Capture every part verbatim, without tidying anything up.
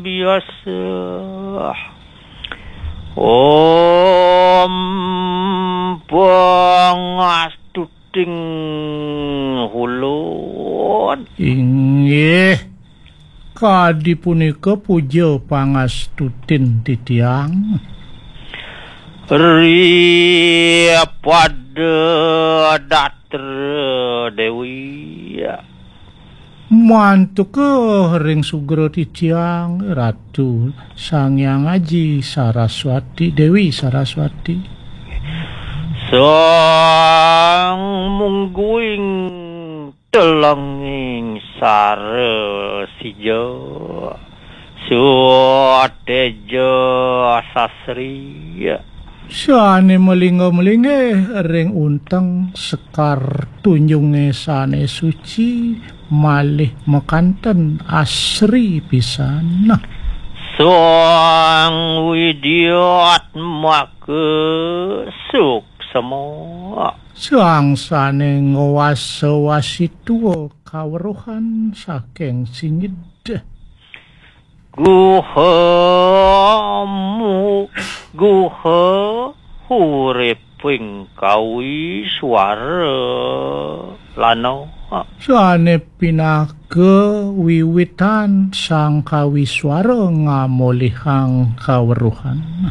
biasa. Om pangastuting hulun. Inggih, kadi punika puja pangastutin titiang. Ri pada datra dewi. Mantuka ring sugra titiang, Ratu Sang Hyang Aji Saraswati, Dewi Saraswati. Sang mungguing telenging sara sija. Suteja sasri. Sane malingga-malinggih ring unteng sekar tunjunge sane suci, malih makanten asri pisan. Sang widiat maka suksema. Sang sane ngwasa-wasi tua kaweruhan saking singid. Guha mu-, guha huriping kawi suara lana. Sane pinaka wiwitan sang kawi suara ngamolihang kaweruhan.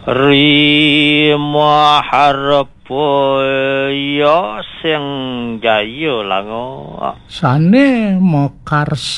Ri maharapa ya sing jaya langa. Sane makarsa